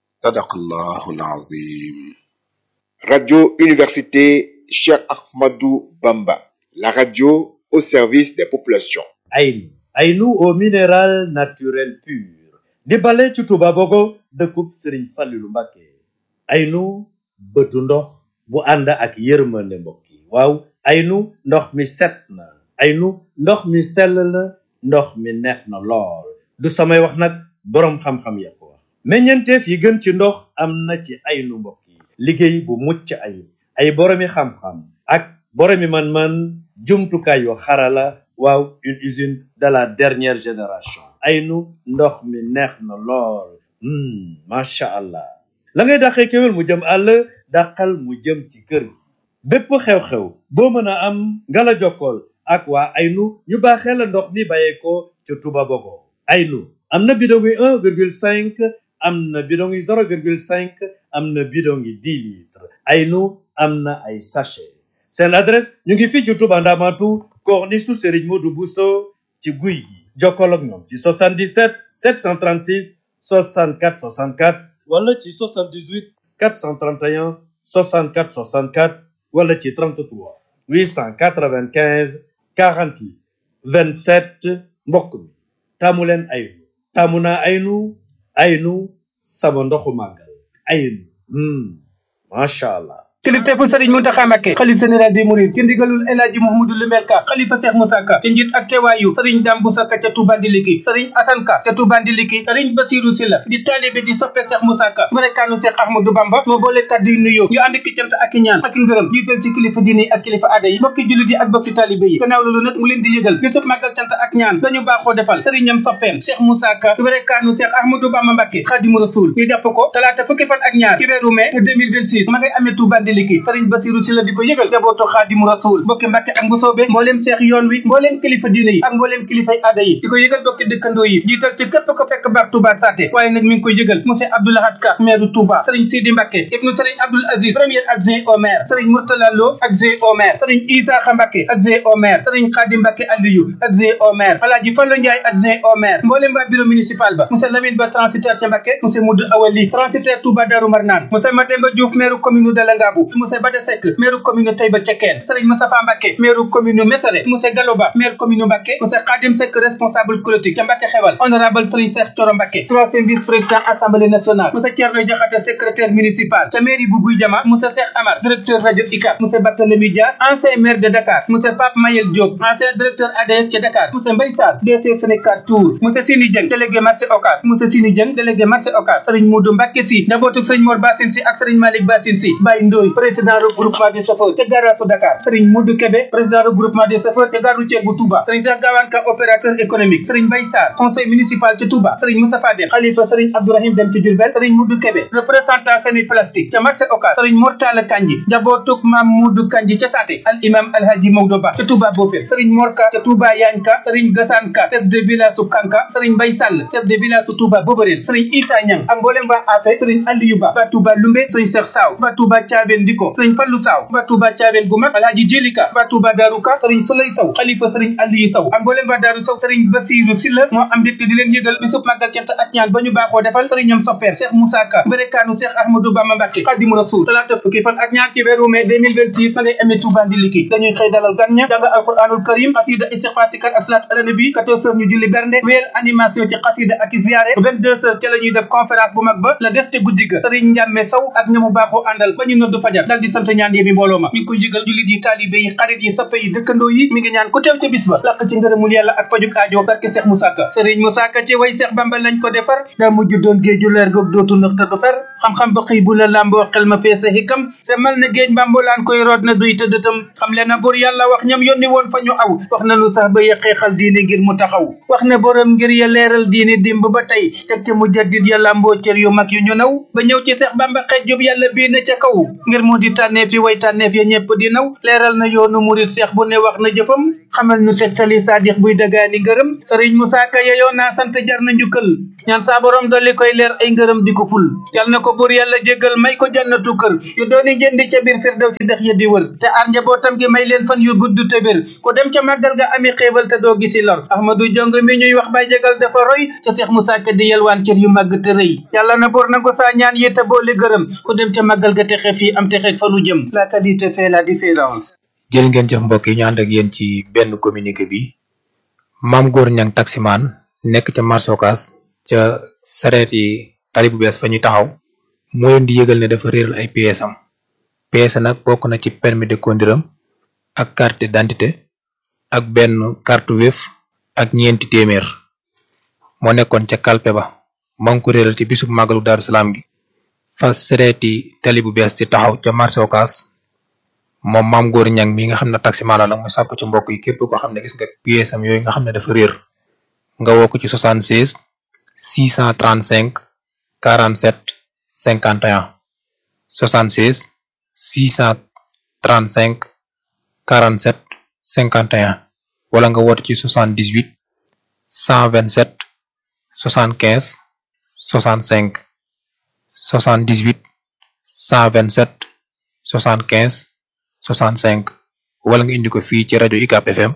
Sadaqallahul Azim. Radio Université Cheikh Ahmadou Bamba, la radio au service des populations. Aynu au minéral naturel pur di bale ci Touba Bogo dëkkub Serigne Fallilou Mbacké. Aynu bëtu ndox bu ànd ak yërmande mbokk yi waaw aynu ndox mi set na aynu ndox mi sell na ndox mi neex na lool du samay wax nag boroom xam-xam ya ko wax meññeenteef yi gën ci ndox am na ci aynu mbokk yi liggéey bu mucc ayib ay boroomi xam-xam ak boroomi man-man jumtukaay yu xarala waaw une usine de la dernière génération aynu ndox mi neex na lool macha allah la ngay dàqee kéwél mu jëm àll dàqal mu jëm ci kër gi bépp xew-xew boo mën a am nga la jokkool ak waa aynu ñu baaxee la ndox mi bàyyeekoo ca Touba Bogo aynu am na bidon yi 1,5 am na bidon yi 0,5 am na bidon yi 10 litres aynu am na ay sachet seen adresse ñu ngi fii ci Touba Ndamatu corniche su Serigne Modou Bousso ci guy gi jokkool ak ñoom ci 77 736 64 64 wala ci 78 431 64 64 wala ci 33 895 48 27 mbokk mi taamu leen aynu taamu naa aynu sama ndoxu màggal aynu macha allah. kilifteefu Serigne Mountakha Mbacké xalif général des mourides ci ndigalul El Hadji Mouhamadou Limel Ka xalifa Cheikh Moussa Ka ci njiit ak teewaayu Serigne Dame Boussa Ka ca Touba Ndiliki Serigne Assane Ka ca Touba Ndiliki Serigne Bassirou Sylla di taalibe di soppe Cheikh Moussa Ka barekaanu Cheikh Ahmadou Bamba moo boole kàddu yu nuyoo ñu ànd ki cant ak i ñaan ak i ngërëm jiital ci kilifa diine ak kilifa aada yi mbokki jullit yi ak bokki taalibe yi gannaaw loolu nag mu leen di yëgal bisub màggal cant ak ñaan dañu baaxoo defal Serigne ñam soppeem Cheikh Moussa Ka barekaanu Cheikh Ahmadou Bamba Mbacké Khadimu Rasoul ñu jàpp ko talaata fukki fan ak ñaar ci weeru mai 2026 ma ngay amee Touba Ndiliki Serigne Bassirou Sylla di ko yëgal jabootu Xaadimu Rasuul mbokki Mbàkke ak Mbusoobe mbooleem seex yoon wi mbooleem kilifa diine yi ak mbooleem kilifay aada yi di ko yëgal bokki dëkkandoo yi jiital ci képp ko fekk baax Touba Saté waaye nag mi ngi koy yëgal monsieur Abdou Lahad Ka maire Touba Serigne Sidi Mbàkke ibnu Serigne Abdoul Aziz premier adjoint au maire Serigne Mourtala Lo adjoint au maire Serigne Isaaxa Mbàkke adjoint au maire Serigne Khadim Mbàkke Aliyu adjoint au maire Alaaji Fallu Njaay adjoint au maire mbooleem waa bureau municipal ba monsieur Lamine Ba transitaire ca Mbàkke monsieur Moudou Awali transitaire Touba Darou Marnane monsieur Mademba Diouf maire commune de Langabou monsieur Bada Seck maire commune Taïba Cekkeen Serigne Moustapha Mbacké maire commune Mesere monsieur Galoba maire commune Mbacké monsieur Khadim Seck responsable politique ca Mbacké Xewal honorable Serigne Cheikh Thioro Mbacké troisième vice-président assemblée nationale monsieur Thierno Diakhaté secrétaire municipal ca mairie bu Guy Jama monsieur Cheikh Amar directeur radio ICAP monsieur Barthélémy Dias ancien maire de Dakar monsieur Pape Mayel Diop ancien directeur ADS ca Dakar monsieur Mbaye Sarr DC Sénégal Tour monsieur Sini Dieng délégué marché Ocass monsieur Sini Dieng délégué marché Ocass Serigne Modou Mbacké Sy njabootu Serigne Mor Bassine Sy ak Serigne Malick Bassine Sy Baye Ndoye président regroupement des chauffeurs te garage Dakar Serigne Modou Kébé président regroupement des chauffeurs te gare routière bu Touba Serigne Cheikh Gawane Ka opérateur économique Serigne Mbaye Sarr conseil municipal ci Touba Serigne Moustapha Dem khalifa Serigne Abdourahim Dem ci Diourbel Serigne Modou Kébé représentant Seni Plastique ca marché Ocass Serigne Mortala Kanji njabootuk Mam Modou Kanji ca Saté al imam Alhaji Maodo Ba ca Touba Bofel Serigne Morka ca Touba Yagne Ka Serigne Gassane Ka chef de village su Kanka Serigne Mbaye Sall chef de village su Touba Boborel Serigne Issa Niang ak mboolem waa Afé Serigne Aliou Ba ba Touba Lumbe Serigne Cheikh Saw ba Touba Thiabène Diko Serigne Fallou Saw ba Touba Thiabène gu mag Alhaji Jelika ba Touba Darou Ka Serigne Souley Sow xalifa Serigne Aliou Sow ak mboolem waa Darou Sow Serigne Bassirou Sylla moo am mbégte di leen yëgal bisub màggal cant ak ñaan ba ñu baaxoo defal Serigne ñam soppeer Cheikh Moussa Ka barekaanu Cheikh Ahmadou Bamba Mbacké Khadimu Rasoul talaata fukki fan ak ñaar ci weeru mai 2026 fa ngay amee Touba Ndiliki dañuy xëy dalal gan ña jàng alquranul karim xasida istighfar sikar ak salaatu ala nabi 14h ñu julli bernde wéyal animation ci xasida ak ziyaare 22h ca la ñuy def conférence bu mag ba la des te guddi ga Serigne Ndiame Sow ak ñamu baaxoo àndal ba ñu noddu fajar dal di sant ñaan yi bi mbooloo ma mi ngi koy yëgal jullit yi taalibe yi xarit yi soppe yi dëkkandoo yi mi ngi ñaan ku teew ca bis ba laq ci ngërëmul yàlla ak pajuk aajo barke Cheikh Moussa Ka Serigne Moussa Ka ci way Cheikh Bamba lañ ko defar daa mujj doon géeju leer goog dootu nëx te du fer xam-xam ba xëy bu la lamboo xel ma feese hikam semal na géej mbambulaan koy root na duy tëddëtam xam le na bur yàlla wax ñam yónni woon fa ñu aw wax na lu sax ba yëqeexal diine ngir mu taxaw wax ne borom ngir ya leeral diine dimb ba tey teg te mu jaddit ya lamboo cër yu mag yu ñu naw ba ñëw ci Cheikh Bamba xeej jub yàlla bii na ca kaw ngir ngir mu di tànneef yi way tànneef ya ñëpp di naw leeral na yoonu murit seex bu ne wax na jëfam xamal nu tegtali saadix buy dagaani ngërëm sëriñ Musaa Ka yeyoo naa sant jar na njukkal ñaan saa borom dolli koy leer ay ngërëm di ko ful yal na ko buur yàlla jéggal may ko jannatu kër yu dooni jëndi ca biir firdaw si dex ya di wër te aar njabootam gi may leen fan yu gudd te wér ku dem ca màggal ga ami xéewal te doo gisi lor Ahmadu Jong mi ñuy wax bay jégal dafa roy ca Seex Musaa Ka di yelwaan cër yu màgg te rëy yàlla na buur nangu saa ñaan yi te boole gërëm ku dem ca màggal ga texe fii am texe fa nu jëm la qualité fait la différence. jël ngeen jëf mbokk yi ñu ànd ak yéen ci benn communiqué bi Maam Góor Ñang taximaan nekk ca marché Ocass ca sareet yi tali bu bees fa ñuy taxaw moo leen di yëgal ne dafa réeral ay pièces am pièces nag bokk na ci permis de conduire am ak carte d'identité ak benn carte Wave ak ñeenti téeméer moo nekkoon ca kalpe ba moo ngi ko réeral ci bisub màggalu Daaru Salaam gi fa sareeti tali bu bees ci taxaw ca marché Ocass moom Maam Góor Ñang mi nga xam ne taximaan la nag mu sàkku ci mbokk yi képp koo xam ne gis nga pièces am yooyu nga xam ne dafa réer nga woo ko ci 76 635 47 51 76 635 47 51 wala nga woote ci 78 127 75 65 78 127 75 65 wala nga indi ko fii ci rajo UCAB FM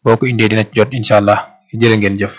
boo ko indee dina ci jot incha allah jërë ngeen jëf.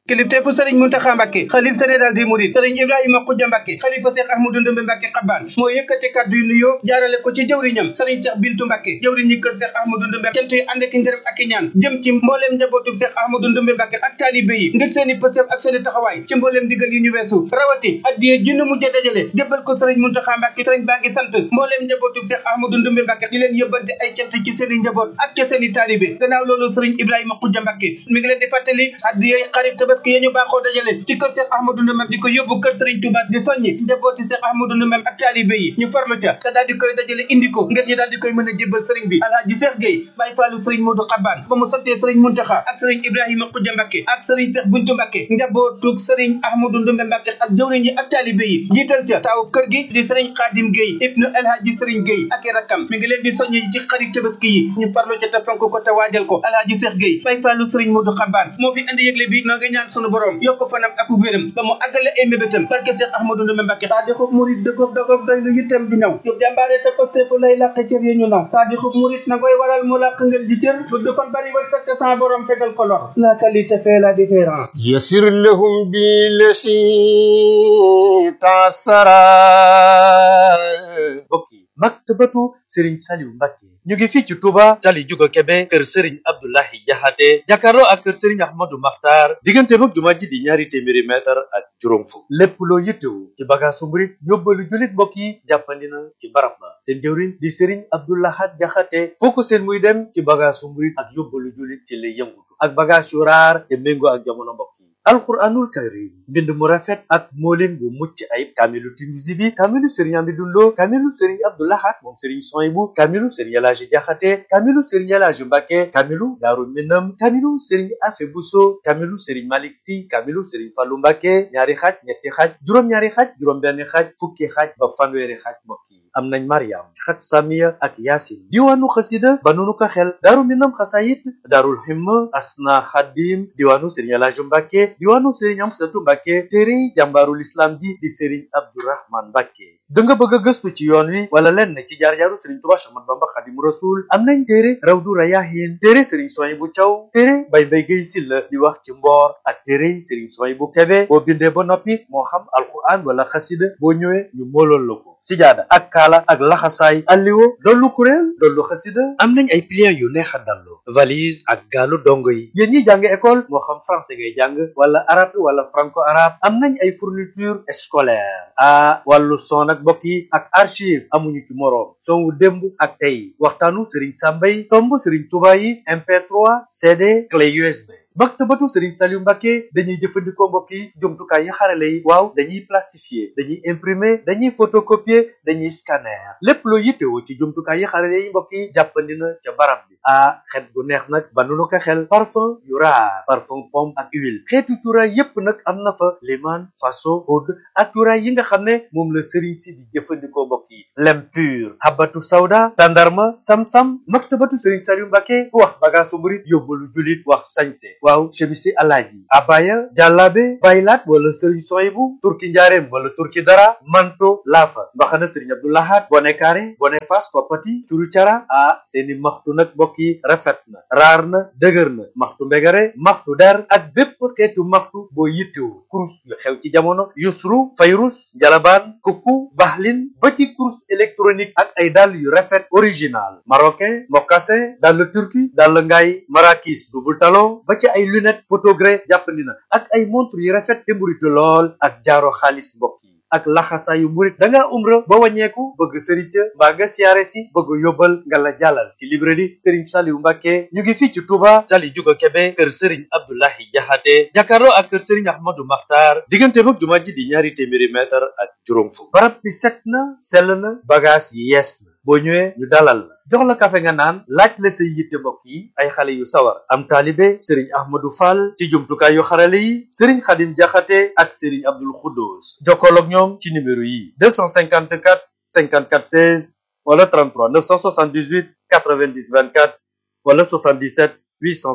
kilifteefu sëriñ Muntaxa Mbàkke xalif général des mourides sëriñ Ibrahima Xuja Mbàkke xalifa Seex Ahmadu Ndumbe Mbàkke Xabaan moo yëkkati kàddu yu nuyoo jaarale ko ci jëwriñam sëriñ Seex Bintu Mbàkke jëwriñ ñi kër Seex Ahmadu Ndumbe cant yi ànd ak ngërëm ak i ñaan jëm ci mbooleem njabootu Seex Ahmadu Ndumbe Mbàkke ak taalibe yi ngir seeni pësëf ak seeni taxawaay ci mbooleem digal yi ñu weesu rawati addiye ji nu mujj dajale jébbal ko sëriñ Muntaxa Mbàkke sëriñ baa ngi sant mbooleem njabootu Seex Ahmadu Ndumbe Mbàkke di leen yëbbante ay cant ci seeni njaboot ak ca seeni taalibe gannaaw loolu sëriñ Ibrahima Xuja Mbàkke mi ngi leen di fàttali addiye xarit tabaski yi ñu baaxoo ci kër Seex Ahmadu Ndumbe di ko yóbbu kër Sëriñ Tuubaa di soññi njabooti Seex Ahmadu Ndumbe ak taalibe yi ñu farlu ca te daal di koy dajale indi ko ngir ñu daal di koy mën a jébbal sëriñ bi Alaaji Seex Gey Baay Faalu Sëriñ Moodu Xabaan ba mu santee Sëriñ Muntaxa ak Sëriñ Ibrahima Xuja Mbàkke ak Sëriñ Seex Buntu Mbàkke njabootu Sëriñ Ahmadu Ndumbe Mbàkke ak jëwriñ yi ak taalibe yi jiital ca taaw kër gi di Sëriñ Xaadim Gey ibnu Alaaji Sëriñ Gey ak i rakkam mi ngi leen di soññi ci xarit tabaski yi ñu farlu ca te fonk ko te waajal ko Alaaji Seex Gey Baay Faalu Sëriñ Moodu Xabaan moo fi andi yëgle bi noo ngi ñaan sunu borom yokk fanam ak wéram ba mu àggale ay mébétam barke Seex Ahmadu Ndumbe Mbàkke saa di xub murit dëggoog dëggoog doy lu yittam di naw yu jàmbaare te posté fu lay làq cër yi ñu naw saa di xub murit na koy waral mu làq ngeen di cër bu du fan bari war sakk sa borom fegal ko lor la qualité fait la différence yasir lahum bi lesi tasara bokki maktabatu Serigne Saliou Mbacke ñu ngi fii ci Touba tali Juga Kebe kër Serigne Abdoulahi Jaxate jàkkaarloo ak kër Serigne Ahmadou Makhtar diggante mag jumaa ji di ñaari téeméeri mètre ak juróom fukk lépp loo yittewu ci bagaasu murit yóbbalu jullit mbokk yi jàppandi na ci barab ba seen jëwriñ di Serigne Abdoulahat Jaxate foo ko seen muy dem ci bagaasu murit ak yóbbalu jullit ci lay yëngutu ak bagaas yu raar te méngoo ak jamono mbokk yi alquranul karim mbind mu rafet ak moolin bu mucc ayib kaamilu Tinuusi bi kaamilu Serigne Amidou Lo kaamilu Serigne Abdoulahat moom Serigne Soyibu kaamilu Serigne Elaaji Jaxate kaamilu Serigne Elaaji Mbàkke kaamilu Daaru Minam kaamilu Serigne Afe Buso kaamilu Serigne Malik Si kaamilu Serigne Fallu Mbàkke ñaari xaaj ñetti xaaj juróom-ñaari xaaj juróom-benn xaaj fukki xaaj ba fanweeri xaaj mbokk yi am nañ Mariam xat Samiya ak Yaasin diwaanu xasida ba nunu ko xel Daaru Minam xasayit Daarul Himma Asna Xadim diwaanu Serigne Elaaji Mbàkke diwaanu Serigne Amsatu Mbàkke téere jàmbaarul islam ji di Serigne Abdourahman Mbàkke da nga bëgg a gëstu ci yoon wi wala lenn ci jaar-jaaru Serigne Touba Ahmadu Bamba Xaadimu Rasuul am nañ téere Rawdu Rayaahin téere Serigne Souhaïbou Thiaw téere Baye Mbaye Guèye Sylla di wax ci mboor ak téere Serigne Souhaïbou Kébé boo bindee ba noppi moo xam alquran wala xasida boo ñëwee ñu moolool la ko sijaada ak kaala ak laxasaay alliwo dollu kuréel dollu xasida am nañ ay pliants yu neex a dallu valise ak gaalu dongo yi yéen ñi jàng école moo xam français ngay jàng wala arabe wala franco arabe am nañ ay fourniture scolaire wàllu son ak mbokk yi ak archive amuñu ci moroom son wu démb ak tey waxtaanu Serigne Samba yi tomb Serigne Touba yi MP3 CD clé USB maktabatu Serigne Saliou Mbacké dañuy jëfandikoo mbokk yi jumtukaay yi xarale yi waaw dañuy plastifier dañuy imprimer dañuy photocopier dañuy scanner lépp loo yittewoo ci jumtukaay yi xarale yi mbokk yi jàppandi na ca barab bi xet gu neex nag ba nu ko xel parfum yu raar parfum pomme ak huile xeetu cuuraay yépp nag am na fa liman faso oud ak cuuraay yi nga xam ne moom la Serigne si di jëfandikoo mbokk yi lem pur habatu sawda tandarma sam-sam maktabatu Serigne Saliou Mbacké ku wax bagaasu murit yóbbalu julit wax sañse waaw chemisi alaaji abaya jàllaabe baylaat wala Serigne Soyibu turki njaareem wala turki dara manto laafa mbaxana Serigne Abdou Lahad bone kaare bone fas koppati curu cara seeni maxtu nag mbokk yi rafet na raar na dëgër na maxtu mbegare maxtu der ak bépp xeetu maxtu boo yittewu kurus yu xew ci jamono yusru fayrus jalabaan kukku baxlin ba ci kurus électronique ak ay dàll yu rafet original marocain mocassin dàll turki dàll ngaay marakis double talon ba ci ay lunette photogré jàppandi na ak ay montre yu rafet te mburitu lool ak jaaro xaalis mbokk yi ak laxasaayu murit da ngaa umra ba wàññeeku bëgg sëriñ ca mbaa nga siyaare si bëgg yóbbal nga la jàllal ci librairie Serigne Saliou Mbacké ñu ngi fii ci Touba tali juga Kebe kër Serigne Abdoulahi Jaxate jàkkaarloo ak kër Serigne Ahmadou Makhtar diggante mag jumaa ji di ñaari téeméeri mètre ak juróom fukk barab bi set na sell na bagage yi yees na boo ñëwee ñu dalal la jox la kafe nga naan laaj la say yitte mbokk yi ay xale yu sawar am taalibe Serigne Ahmadou Fall ci jumtukaay yu xarale yi Serigne Khadim Jaxate ak Serigne Abdoul Khoudous jokkool ak ñoom ci numéro yi 254 54 16 wala 33 978 90 24 wala 77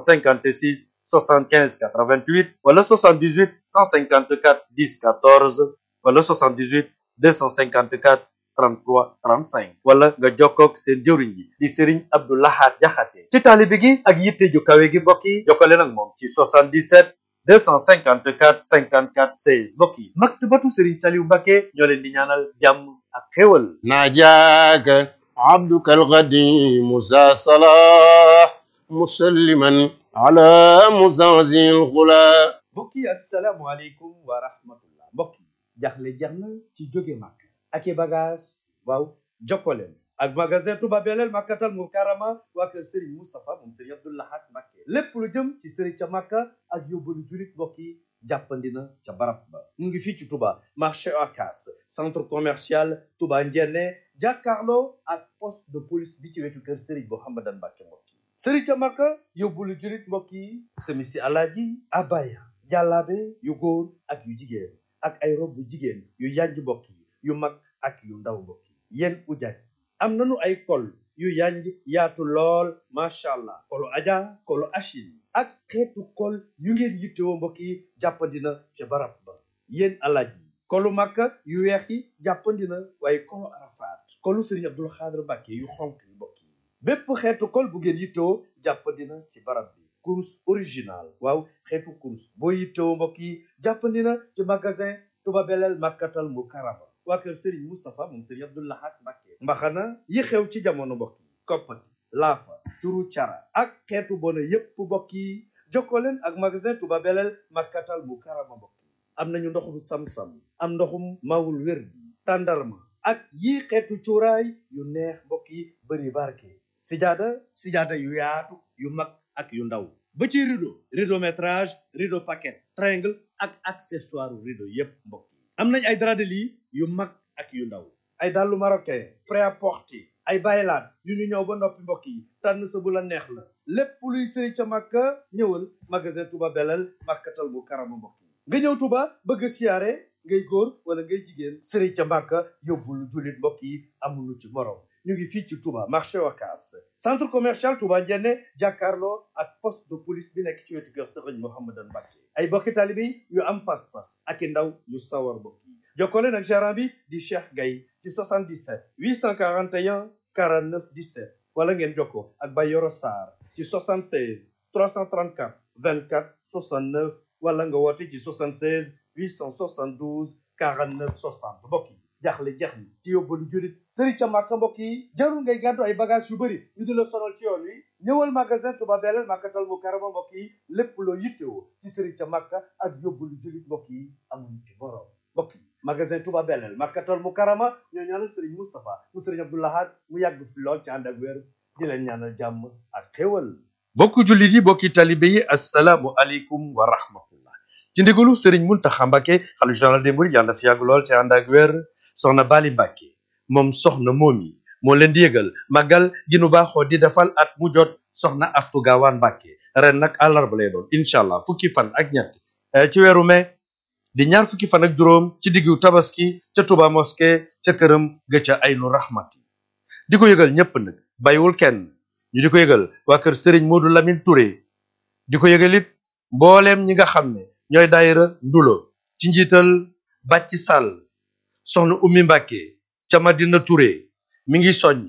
856 75 88 wala 78 154 10 14 wala 78 254 33 35 wala nga jokkoog seen jëwriñ bi di Serigne Abdou Lahad Jaxate ci taalibe gi ak yitte ju kawe gi mbokk yi jokkale nag moom ci 77 254 54 16 mbokk yi maktabatu Serigne Saliou Mbacké ñoo leen di ñaanal jàmm ak xéwal ناجاك عبدك القديم ذا صلاح مسلما على مزازي الغلا mbokk yi asalaamualeykum wa rahmatullah mbokk yi jaxle jeex na ci jóge màkk ak i bagage waaw jokkoleen ak magasin Touba Belel Makkatal Mukarrama waa kër Serigne Moustapha moom Serigne Abdou Lahad Mbacké lépp lu jëm ci Serigne ca Makka ak yóbbalu julit mbokk yi jàppandi na ca barab ba mu ngi fii ci Touba marché Ocass centre commercial Touba Ndiéné jàkkaarloo ak poste de police bi ci wetu kër Serigne Mouhamadan Mbacké mbokk yi Serigne ca Makka yóbbalu julit mbokk yi semisi alaaji abaya jàllaabe yu góor ak yu jigéen ak ay rob bu jigéen yu yanj mbokk yi yu mag ak yu ndaw mbokk yi yéen ujaaj am nañu ay kol yu yanj yaatu lool macha allah kolu aja kolu achil ak xeetu kol yu ngeen yittewoo mbokk yi jàppandina ca barab ba yéen alaaj yi kolu makka yu weex yi jàppandina waaye kolu arafaat kolu Serigne Abdoul Khadr Mbacké yu xonk yi mbokk yi bépp xeetu kol bu ngeen yittewoo jàppandina ci barab bi kurus original waaw xeetu kurus boo yittewoo mbokk yi jàppandina ci magasin Touba Belel Makkatal Mukarrama waa kër Serigne Moustapha moom Serigne Abdou Lahad Mbacké mbaxana yi xew ci jamono mbokk yi koppati laafa turu cara ak xeetu bona yépp mbokk yi jokkoo leen ak magasin Touba Belel Makkatal Mukarrama mbokk yi am nañu ndoxum sam-sam am ndoxum mawul wér bi tàndarma ak yii xeetu cuuraay yu neex mbokk yi bëri barke sijaada yu yaatu yu mag ak yu ndaw ba ci rideau métrage rideau paquet triangle ak accessoire rideau yépp mbokk yi am nañ ay drap de lit yu mag ak yu ndaw ay dàllu marocain prêt-à-porter ay baylaat yu ñu ñëw ba noppi mbokk yi tànn sa bu la neex la lépp luy sëri ca Makka ñëwal magasin Touba Belel Makkatal Mukarrama mbokk yi nga ñëw Touba bëgg a siyaare ngay góor wala ngay jigéen sëri ca Makka yóbbul jullit mbokk yi amuñu ci morom ñu ngi fii ci Touba marché Ocass centre commercial Touba Ndiéné jàkkaarloo ak poste de police bi nekk ci wetu kër Serigne Mouhamadan Mbacké ay bokki taalibe yu am pas-pas ak i ndaw yu sawar mbokk yi jokkoo leen ak gérant bi di Cheikh Gaye ci 77 841 49 17 wala ngeen jokkoo ak Bayoro Sarr ci 76 334 24 69 wala nga woote ci 76 872 49 60 mbokk yi jaaxle jeex ni ci yóbbalu jurit Serigne ca Makka mbokk yi jarul ngay gàddu ay bagage yu bëri ñu di la sonal ci yoon wi ñëwal magasin Touba Belel Makkatal Mukarrama mbokk yi lépp loo yittewoo ci Serigne ca Makka ak yóbbalu jurit mbokk yi amuñu ci borom mbokk yi magasin Touba Belel Makkatal Mukarrama ñoo ñaanal Serigne Moustapha mu Serigne Abdou Lahad mu yàgg fi lool ci ànd ak wér di leen ñaanal jàmm ak xéwal bokku jullit yi bokki talibe yi assalaamu aleykum wa rahmatullah ci ndigalu sëriñ Muntaxa Mbàkke xalifa général des mourides yàlla na fi yàgg lool te ànd ak wér soxna Bali Mbàkke moom soxna moomi moo leen di yëgal màggal gi nu baaxoo di defal at mu jot soxna Astu Gaawaan Mbàkke ren nag àllarba lay doon incha allah fukki fan ak ñett ci weeru mai di ñaar fukki fan ak juróom ci diggu tabaski ca Touba mosquée ca këram ga ca Aynu Rahmati di ko yëgal ñépp nag bàyyiwul kenn ñu di ko yëgal waa kër Serigne Modou Lamine Touré di ko yëgal it mbooleem ñi nga xam ne ñooy daayira ndulo ci njiital Bàcci Sall soxna Ummi Mbàkke ca Madina Touré mi ngi soññ